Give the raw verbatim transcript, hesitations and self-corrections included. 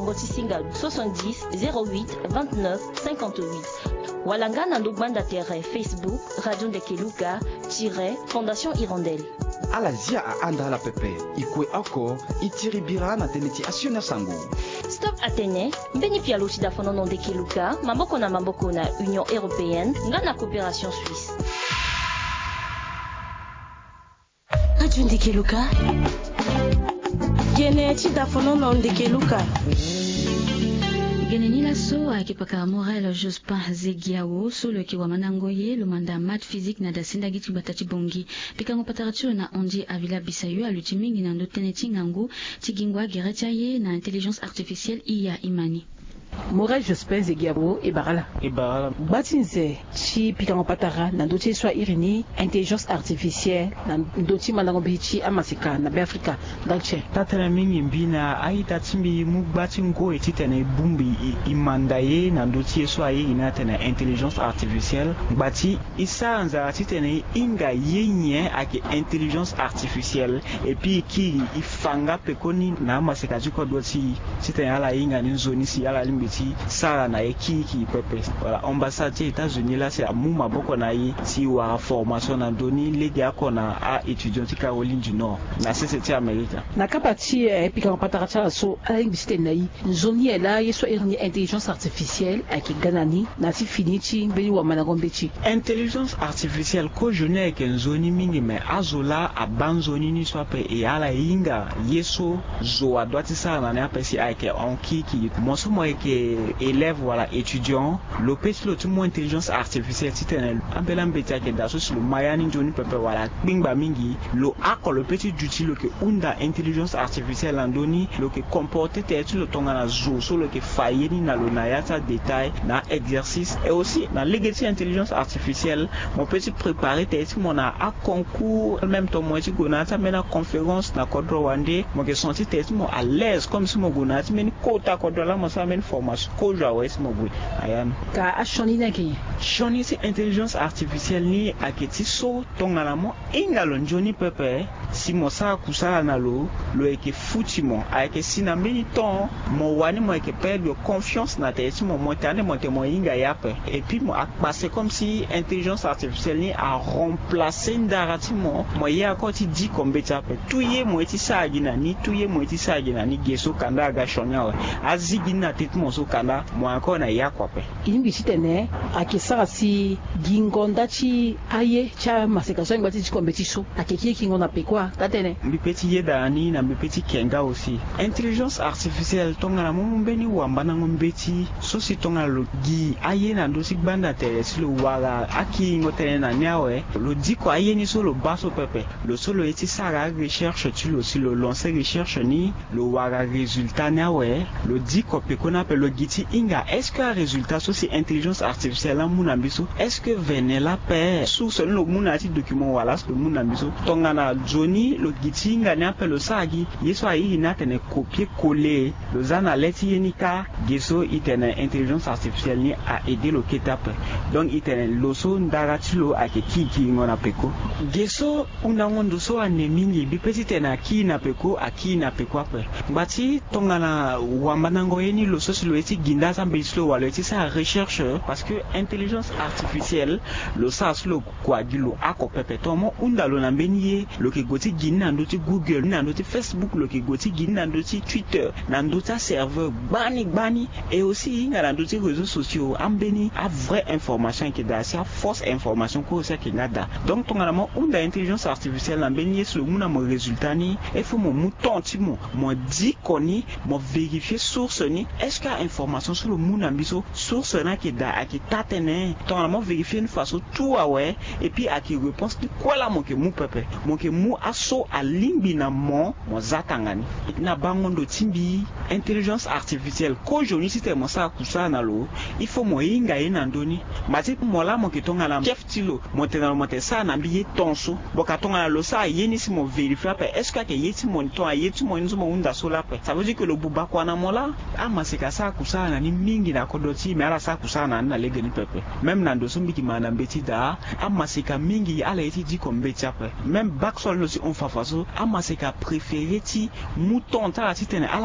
Ngongo ti singa soixante-dix, zéro huit, vingt-neuf, cinquante-huit. Wala nga na ndo gbanda tere Facebook, Radio Ndeke Luka, tiret, Fondation Hirondelle. Ala zia ahanda ala pepe. E kue oko, e tiri bira na tënë ti asioni asango. Stop atene, mbeni pialo ti dafonono Ndeke Luka, maboko na maboko na Union Européenne, nga na Coopération Suisse. Radio Ndeke Luka. Gene ti dafonono Ndeke Luka. Gene ni laso ayeke pakara Morel Jospin Zegiawo, so lo yeke wamandango ye lo manda maths, physique na dasendagi ti gbata ti Bangui. Pikango patara ti lo na Andy Avila Bisayo aluti mingi na ndö tënë ti ngangu ti gingo agere ti aye na intelligence artificielle. Iya, e ma ni. Morel Jospin Zegiawo, e bara ala. E bara ala. Gba ti nze ti pikango patara na ndö ti ye so a iri ni intelligence artificielle na ndö ti mandango mbi ti amaseka na Beafrika. Ndali ti e. Taa-tënë mingi mbi na a-ita ti mbi mu gba ti ngoi titene e bongbi e, e manda ye na ndö ti ye so a iri ni atene intelligence artificielle. Ngba ti e sara nzara titene e hinga ye nyen ayeke intelligence artificielle. Et puis e kiri e fa nga pekoni na amaseka ti kodro ti e titene ala hinga ni nzoni si ala lingbi ti sara na ye kirikiri pepe. Voilà, ambassade ti États-Unis laa si amu maboko na e si e wara formation na ndö ni legeoko na a-étudiant ti Caroline du Nord na sese ti Amerika. Na kapa ti e, pikango patara ti ala so ala lingbi titene na e nzoni nyen laa ye so a iri ni intelligence artificielle ayeke ga na ni na ti fini ti mbeni wamandango mbeti. Intelligence artificielle kozoni ayeke nzoni mingi, me azo laa abaa nzoni ni so ape e ala e hinga ye so zo adoit ti sara na ni ape si ayeke hon kirikiri. Mo so mo yeke élève wala étudiant, lo pe ti lo ti mu intelligence artificielle titene ambeni ambeti ayeke daa so si lo ma ya ni nzoni pepe wala akpingba mingi, lo oko lo pe ti duti lo yeke hunda intelligence artificielle na ndö ni, lo yeke comporter tere ti lo tongana zo so lo yeke fa ye ni na lo na ya ti adétail na a-exercice. Et aussi na lege ti intelligence artificielle, mo pe ti préparer tere ti mo na aconcours, même temps mo ye ti gue na ya ti ambeni aconférence na kodro wande, mo yeke senti tere ti mo à l'aise comme si mo gue na ya ti mbeni kota kodro laa mo sara mbeni formation kozo awe si mo gue na ya ni. Ka asioni ni ayeke nyen? Sioni ti intelligence artificielle ni ayeke ti so tongana mo hinga lo nzoni pepe si mo sara kusala na lo, lo yeke futi mo. Ayeke si na mbeni temps mo wani mo yeke perdre confiance na tere ti mo, mo tene ande mo tene mo hinga ye ape. Et puis mo akpase comme si intelligence artificielle ni aremplacer ndara ti mo. Mo ye encore ti diko mbeti ape. Tout ye mo ye ti sara gi na ni, tout ye mo ye ti sara gi na ni, ge so kanda aga sioni awe. Azi gi ni na tete mo so kanda mo encore na ye oko ape. E lingbi titene ayeke sara si gingo nda ti aye ti amaseka so angba ti diko mbeti so ayeke kiri kingo na peko, taa-tënë? Mbi pe ti yeda na ni na mbi pe ti ke nga aussi. Intelligence artificielle tongana mo mu mbeni wambandango mbeti so si tongana lo gi aye na ndö ti gbanda tere si lo wara akiringo tënë na ni awe, lo diko aye ni so lo baa so pepe. Lo so lo ye ti sara arecherche ti lo, si lo lancer recherche ni, lo wara résultat ni awe, lo diko pekoni ape, lo gi ti hinga est-ce que arésultat so si intelligence artificielle amu na mbi so, est-ce que vene laa ape source ni lo mu na ya ti document wala so lo mu na mbi so? Tongana nzoni lo gi ti hinga ni ape, lo sara gi ye so a iri ni atene copier coller, lo za na le ti ye ni kâ, ge so e tene intelligence artificielle ni a aider lo kete ape. Donc e tene lo so ndara ti lo ayeke kirikiringo na peko. Ge so hundango ndo so ane mingi, mbi pe titene akiri na peko, akiri na peko ape. Ngba ti tongana wambandango ye ni, lo so si lo ye ti gi nda ti ambeti ti lo wala lo ye ti sara recherche, parce que intelligence artificielle lo sara so lo kua gi lo oko pepe. Tongana mo hunda lo na mbeni ye, lo yeke gue ti gi ni na ndö ti Google, ni na ndö ti Facebook, lo yeke gue ti gi ni na ndö ti Twitter, na ndö ti aserveur gbani gbani. Et aussi e hinga na ndö ti réseaux sociaux, ambeni avraie information ayeke daa si afausse information kue aussi ayeke nga daa. Donc tongana mo hunda intelligence artificielle na mbeni ye si lo mu na mo résultat ni, il faut mo mu temps ti mo, mo diko ni, mo vérifier source ni. Est-ce que ainformation so lo mu na mbi so, source ni ayeke daa, ayeke taa-tënë? Tongana mo vérifier ni faso tout awe, et puis ayeke réponse ti kue laa mo yeke mu pepe. Mo yeke mu aso alingbi na mo, mo za tanga ni. Na bango ndo ti mbi, intelligence artificielle kozoni titene mo sara kusala na lo, il faut mo hinga ye na ndö ni. Mba ti mo laa mo yeke tongana chef ti lo, mo tene na lo mo tene sara na mbi ye ton so. Bon, ka tongana lo sara ye ni si mo vérifier ape, est-ce que ayeke ye ti mo ni? Tongana ye ti mo ni so mo hunda so laa ape, ça veut dire que lo buba kua na mo laa. Amaseka asara kusala na ni mingi na kodro ti e, me ala sara kusala na ni na lege ni pepe. Même na ndo so mbi yeke manda mbeti daa, amaseka mingi ala ye ti diko mbeti ape. Même bac so ala ni lo ti hon fafa so, amaseka préféré ti mu temps ti ala titene ala